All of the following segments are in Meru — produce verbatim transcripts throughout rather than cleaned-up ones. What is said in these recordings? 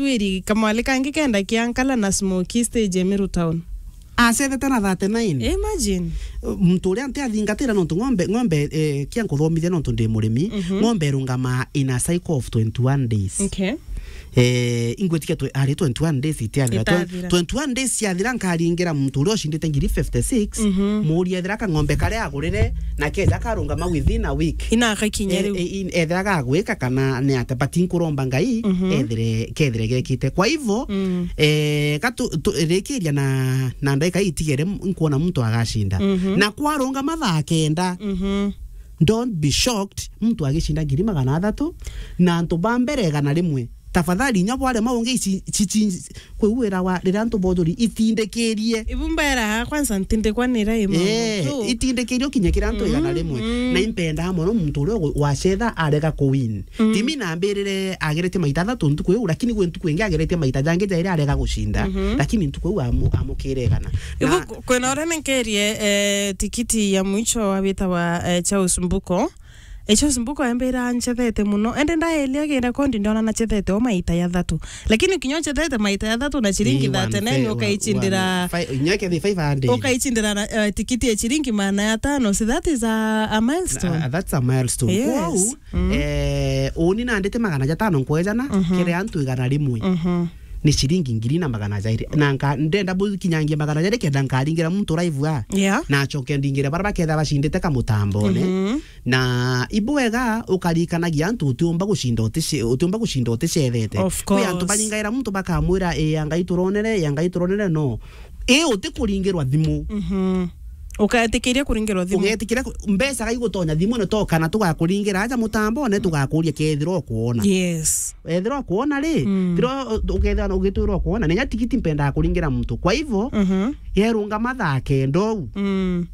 twiri kamwali kangi kenda kia Nkala na Smoky stage ya Meru Town. Acethete na thirty-nine. Imagine. Muntu uria nti athingatira nontu ng'ombe, ng'ombe, eh, kia nkuthomithia nontu ndi murimi, Mhm. ng'ombe irungamaa in a cycle of twenty-one days. Okay. Eh, ingwitikia twe-, ari twenty-one days itiathira. Twen-, Itathira. twenty-one days ciathira nkaringira muntu uria ucindite ngiri fifty-six, Mhm. muria ethira kang'ombe karia agurire na keja karungama within a week. Ina akakinya Eh, riu. eh, in-, ethira gagwika kana ni ate, but nkuromba Ngai, Mhm. ethire, kethire gekite. Kwa hivyo, Mm. eh, gatu-, tu-, rikiria na, na ndagika itigere m-, nkuona muntu agacinda. Mhm. Na kwarungama thaa kenda, Mhm. don't be shocked, muntu agicinda ngiri magana athatu, na antu ba mbere igana rimwe. Tafadhali, inya bwarema ungi ici, ci, ci, kwi wira wa riria antu bothuri itindikirie. Ibu mbera kwanza ntindikwa ni rai maundu Eh, tu. Itindikirie ukinye kiri antu igana Mhm, rimwe. Mhm. Na impendaa mono muntu uria ugwe-, wacetha arega ku win. Mm. Timi nambirire ageretie maita athatu ntuku iu, lakini gwi ntuku ingi ageretie maita jangi jairi arega gucinda. Mhm. Lakini ntuku iu amu-, amukire igana. Ibu Na ku-, kwina uria nenkerie, eh, tikiti ya mwicho wa witawa, eh, Charles Mbuko. Eh, Charles Mbuko embira nchethete muno. Ende ndaelia gi rekondi ndona nachethete o maita ya thatu. Lakini kinya uchethete maita ya thatu na ciringi Ii, thirty-nine one, ukaicindira one, five, nyoke the five hundred. Ukaicindira na, eh, tikiti ya ciringi magana atano. See, that is a, a milestone. Ah, that's a milestone. Yes. Kwou, Mm. Eh, uni nandite magana jatano nkwejana, Mhm. kiri antu igana rimwe. Mhm. Ni ciringi ngiri na magana jairi. Na nka-, ndenda bukinyangia magana jairi kenda nkaringira muntu live a. Yeah. Na acoke ndingire bara baketha bacindite kamutambone. Mhm. Na ibwega ukarikanagia antu utiumba gucinda utice-, utiumba gucinda uticethete. Of Kwi antu course. baringaira muntu bakamwira, "Ii, ya Ngai turonere, ya Ngai turonere," no. Ii, utikuringirwa thimu. Mhm. Uketikiria kuringirwa thimu. Ugetikiria ku-, mbeca ga igutonya thimu ne to kana tugakuringira aja mutambone tugakuria kethira ukwona. Yes. Ethira ukwona ri, Mm. thira u-, ukethira ugitwira ukwona. Nenya tikiti mpendaa kuringira muntu. Kwa hivyo, Mhm. yerunga mathaa kenda uu. Mm.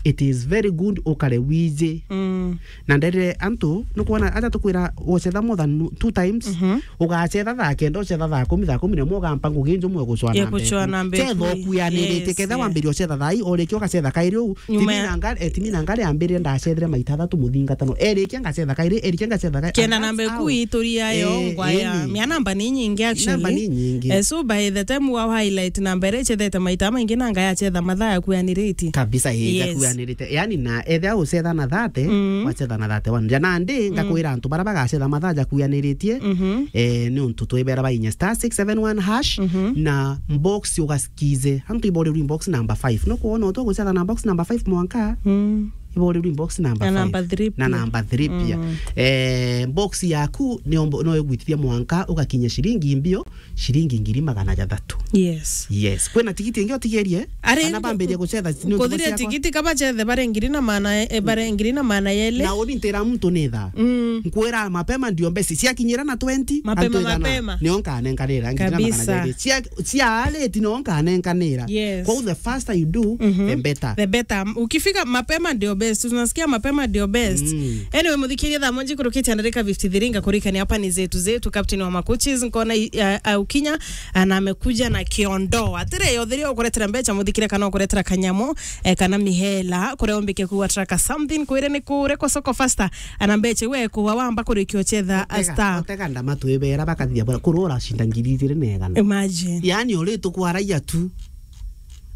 It is very good ukare wiji. Mm. Na nderire antu, nukwona aja tukwira ucetha more than two times, Mhm. ugacetha thaa kenda, ucetha thaa kumi, thaa kumi na imwe ugampa ngugi njumwe gucwa Ya na mbeku. gucwa na mbeku. Cetha ukuyanirite, Yes, ketha yeah. wambiria ucetha thaa ii, urikia ugacetha kairi uu. Nyuma Timi ya na nga-, eh, timi na ngari ambirire ndacethire maita athatu muthingatano. Erikia ngacetha kairi, erikia ngacetha kairi. Kenda And na that's mbeku how. ituri yayo Eh, ngwaya. eni. Mia namba ni nyingi actually. Namba ni nyingi. Eh, so by the time wa highlight namba iria icethete maita maingi na ngaya acetha mathaa yakuyaniritie. Kabisa, ii, Yes. yakuyanirite. Yani na ethia ucetha na thirty, Mm. wacetha na thirty-one. Ja nandi, Mm. ngakwira antu bara bagacetha mathaa jakuyaniritie, Mhm. eh, ni untu twibera bainya star six seven one hash, Mhm. na box ugaskize. Antu iborirwe box number five. No kuona utu gucetha na box number five mwanka, Mm. iborirwe box number Na five. number three Na pia. number three pia. Mm. Eh, box yaku ni ombo-, no igwitithia mwanka ugakinya ciringi mbio, ciringi ngiri magana jathatu. Yes. Yes. Kwina tigiti ingi utigerie? Ari Kana bambirie gucetha, ni ntuku kuthiria ciakwa? Tigiti kaba cethe bare ngiri na maana, eh, bare ngiri na maana yeli. Na uni ntira muntu ni thaa. Mm. Nkwira mapema ndio mbeca. Ciakinyira na twenty, Mapema, antu igana. mapema. Nio nkanenkanira, ngiri na magana Kabisa. jairi. Cia, cia aleti nio nkanenkanira. Yes. Kwou the faster you do, Mhm. the better. The better. Ukifika mapema ndio best. Tunasikia mapema ndio best. Mm. Anyway, muthikirie thaa moja ikurukitie na dakika fifty-three, ngakurikania hapa ni zetu zetu, captain wa macoaches, nkona i-, a-, aukinya, a, na amekuja na kiondo. Atire, yothiria ukuretera mbeca, muthikire kana ukuretera kanyamu, eh, kana mihela, kuria umbike kuwa traka something, kwire ni kure kwa soko faster, ana mbeca we kuwa wamba kurikia uchetha a Otega, star. otega ndama twibera bakathia bora, kurura cinda ngiri igiri na igana. Imagine. Yani uri tukwaragia tu.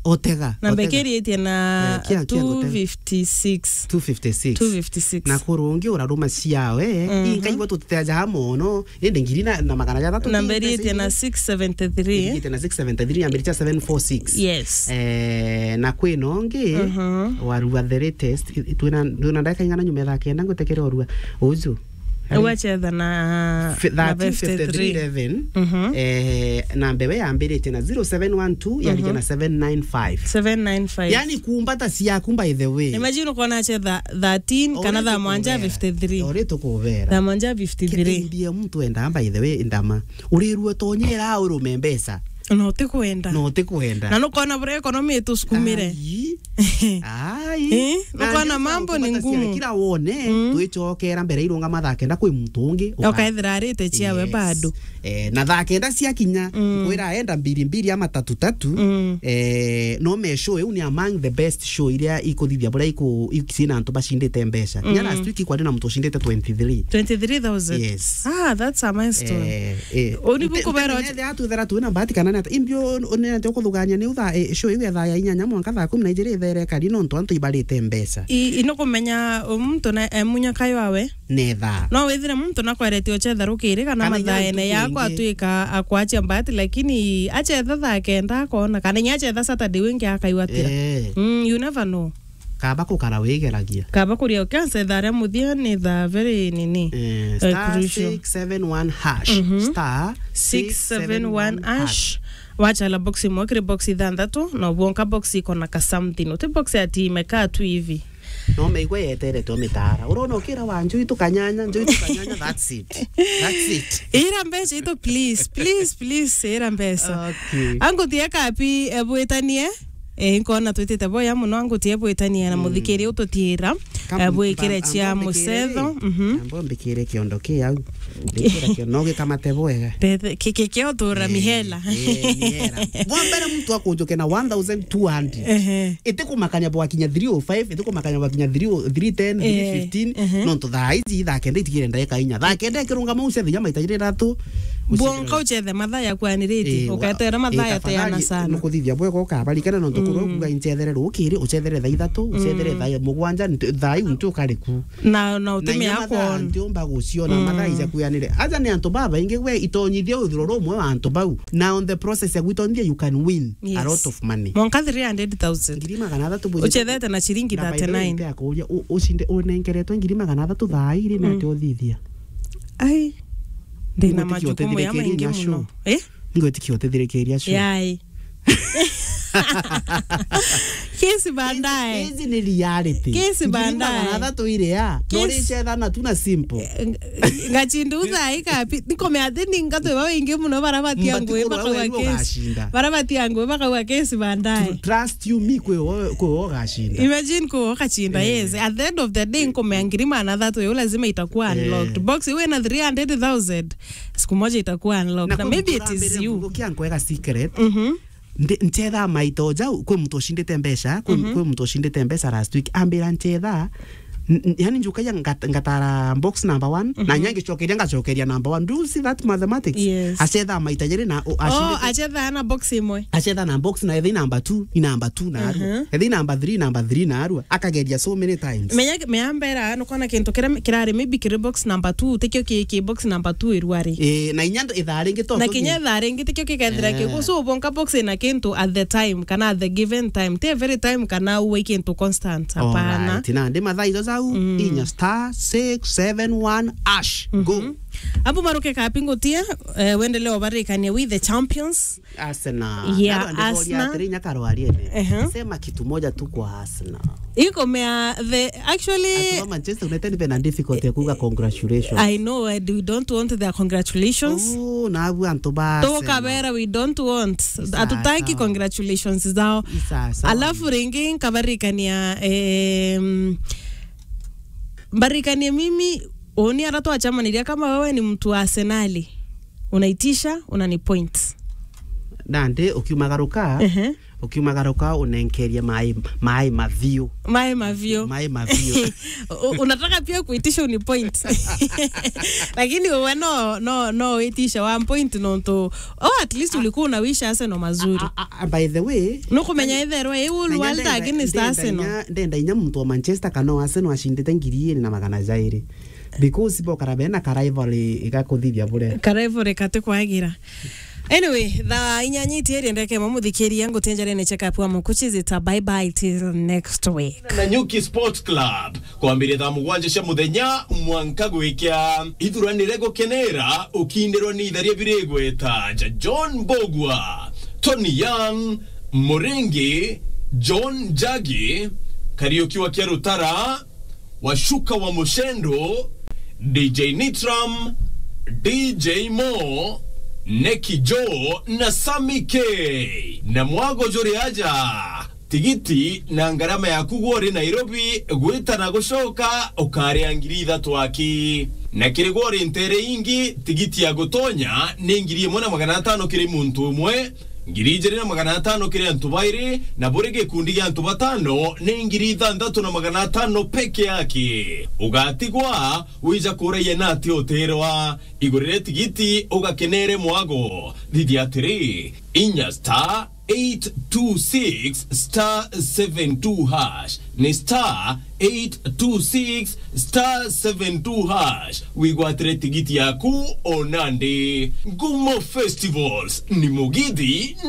Otega, Namba otega. ikiritie na Eh, kia, kia ngotega. two fifty-six. Two fifty-six. Two fifty-six. Na kurungi uraruma ciao, eh, Mhm. inkaigua tutiteajaga mono, indi ngiri na, na magana jathatu Namba ti iritie mbeca na ingi. six seventy-three. Iritie na six seventy-three, yambiritie seven four six. Yes. Eh, na kwina ungi, Mhm. warua the latest, i-, i-, twina, twina ndagika ing'ana nyuma ya thaa kenda ngwitikire urua. Uju. Ari- Ugacetha na, Fi-, na thirteen fifty-three eleven, Mhm. eh, na mbewe yambiritie na zero seven one two, yarikia Mhm. na seven nine five. Seven nine five. Yani kumbata ciaku, by the way. Imagine ukoona acetha thirteen kana Ore thaa mwanja tukubera. fifty-three. Ore tukubera. Thaa mwanja fifty-three. Kithimbi ya muntu endaa, by the way, ndama. Urirue tonyera urume mbeca. Na utikwenda. Na utikwenda. Na nukoona bure economy itusukumire. Ai. Ai. Eh, na ukona ndio mambo ni ngumu. Kila wone, mm, twicokera mbere irunga mathaa kenda kwi muntu ungi, uka-, ukaethira arite ciawe, yes, bado. Eh, na thaa kenda ciakinya, mm, kwira enda mbiri mbiri ama tatu tatu, mm, eh, no me show iu ni among the best show iria ikuthithia buria iku-, i-, ciina antu bacindite mbeca. Kinya, mm, last week kwari na muntu ucindite twenty-three. Twenty-three thousand? Yes. Ah, that's a milestone. Eh, eh. Uni buku bero. Ethira twina mbati kana nata. Imbio unene te ukuthugania ni utha, eh, show iu ya thaa ya inyanya mwanka thaa kumi na ijiri ithere kari nontu antu ibarite mbeca. I, ino kumenya muntu na, eh, munya kayo awe. Netha. No withire muntu nakweretie uchetha rukiri kana mathaene yako atwika akwachia mbati, lakini achetha thaa kenda akona, kana inya achetha Saturday wingi akaigwatira. Eh. Mm, you never know. Kaba kukara wigeragia. Kaba kuria ukiansa ithaa ria muthia ni thaa very nini? Eh, eh, star crucial. Six seven one hash. Mhm. Star six seven one hash. Wachala box imwe kiri box ithanthatu, na ubwonka box iko na ka something. Uti box ati imekaa tu hivi. No meigua yeterete o mitara. Urona ukira wa njui tukanyanya, njui tukanyanya, that's it. That's it. Ira mbeca itu, please, please, please, ira mbeca. Okay. Angutie kapi, eh, bwitanie. Eh, nkona twitite boya muno, angutie bwitanie na, mm, muthikiri ututiira, eh, bwikire cia mucetho. Mhm. Ambo mbikire kiondo ki au. Mbikira kio-, no gikamate bwega. Ki-, ki-, kio tura mihela. Eh, mihela. Bwa mbere muntu akunjuke na one thousand two hundred. Ehe. Itikumakania bwakinya three oh five, itikumakania bwakinya three oh, three ten, eh, three fifteen, ehe, nontu thaa iji thaa kenda itigire ndagika inya. Thaa kenda ikirungama ucethe inya maita jiri ithatu. Bwonka ucethe mathaa yakwanirite, eh, wa-, uketera mathaa, eh, yateana sana. Nukuthithia bwega ukabarikana nontu, mm, kurwa kuga incethere rukiri, ucethere thaa ithatu, ucethere, mm, thaa mugwanja, nti-, thaa iu nti ukariku. Na, na utumia kwona. Ntiumba guciona, mm, mathaa ija kwianire. Aja ni antu babaingi gwe itonyithia uthiro rumwe wa antu bau. Na on the process ya gwitonyithia, you can win, yes, a lot of money. Mwanka three hundred thousand. Ngiri magana athatu bwithite. Uchethete na ciringi thirty-nine. Na by the way, nte akuria, u-, ucinde unengeretwe ngiri magana athatu thaa iri, mm, nate uthithia? Ai. Ndina majukumu ya maingi muno. Eh? Ngwitikia utithirikiria show. Yai. Kesi baadaye. Kesi ni reality. Kesi baadaye. Ngiri magana athatu iri ya. Kesi. Nori cetha na tu na simple. Eh, ng-, ngachinda uthaika pi-, nikomea ati ni ngatwe ba wingi muno bara batia ngwe bakauga kesi. Bara batia ngwe bakauga kesi baadaye. Trust you me, kwe wo, kwe wo gashinda. Imagine kwe wo gashinda, eh, yes. At the end of the day, nkomea ngiri magana athatu yo lazima itakuwa, eh, unlocked. Box iwe na three hundred thousand. Siku moja itakuwa unlocked. Na maybe it is you. Kia nkwega secret. Mhm. Ndi-, nchetha maita o jau, kwi muntu ucindite mbeca, kwi, mhm, kwi muntu ucindite mbeca last week, ambira nchetha, n-, n-, yani njukagia ngat-, ngatara box number one, na, mhm, nya ngicokeria ngacokeria number one. Do you see that mathematics? Yes. Achetha maita jeri na, o, oh, achetha na box imwe. Achetha na box na ethi number two, i number two na arua. Mhm. Ethi number three, number three na arua. Akageria so many times. Menya, menya mbera, nukona kintu kiria kirari maybe kiri box number two, tikio ki, ki box number two irua ri. Eh, na inya ndo ithaa ringi to. Na kinya ithaa ringi tikio kikethira, eh, kiu. So, ubonka box ina kintu at the time, kana at the given time. Ti every time kana uwe kintu constant, hapana. Alright, na ndi mathaa ijo jau, mm, inya star six seven one hash. Go. Mhm. Abu maruke kapingutia, eh, wendelee ubarikania with the champions. Arsenal. Yeah, Arsenal. Atiri inya karwariene. Ehe. Sema kitu moja tu kwa Arsenal. Iko mea the, actually, antu ba Manchester United bena difficulty ya kuuga congratulations. I know, and we don't want their congratulations. Oh, na abu antu ba Arsenal. Tukabera, we don't want. Sawa, hatutaki sawa. Congratulations zao. Sawa, sawa. Alafu ringi nkabarikania, em, mbarikanie mimi, uni ara twachamaniria, kama wewe ni mtu wa Arsenali, unaitisha, unani point. Nandi, ukiumagaruka, ehe, ukiumagaruka, unenkerie mai, mai maviu. Mai maviu. Mai maviu. U-, unataka pia kuitisha uni point. Lakini uwe no, no, no uitisha one point nontu, oh, at least ulikuwa unawisha Arsenal mazuri. A, a, a, by the way, nukumenya itherwe iu na inya World ndenda, against ndenda Arsenal. Inya, ndenda inya muntu wa Manchester kana wa Arsenal acindite ngiri iri na magana jairi. Because bokara bena ka rivalry igakuthithia buria. Ka rivalry kati kwagira. Anyway, thaa inyanya itieri ndeke mamuthikiria ngutenjarene check up wa mukuchi zita. Bye bye till next week. Na Nyuki Sports Club. Kwambiria thaa mugwanja cia muthenya mwanka gwikia. Ithuranire gukenera ukindirwa ni itharia biri igweta ja John Mbugua, Tony Young, Muringi, John Njagi, Kariuki wa Kiarutara, Washuka wa Mushendo, D J Nitram, D J Mo, Neki Joe na Sammy K. Na mwago juri aja. Tigiti na ngarama yaku gwe uri Nairobi gwita na gucoka ukaria ngiri ithatu aki. Na kiri gwe uri ntere ingi, tigiti ya gutonya ni ngiri imwe na magana atano kiri muntu umwe, ngiri ijiri na magana atano kiri antu bairi, na buri gikundi gia antu batano ni ngiri ithanthatu na magana atano peke yake. Ugatigwa wija kuraia na ati uterwa. Igurire tigiti ugakenere mwago. Thithia atiri, inya star eight two six star seven two hash. Ni star eight two six star seven two hash. Wigwatire tigiti yaku o nandi. Ngumo Festivals ni mugithi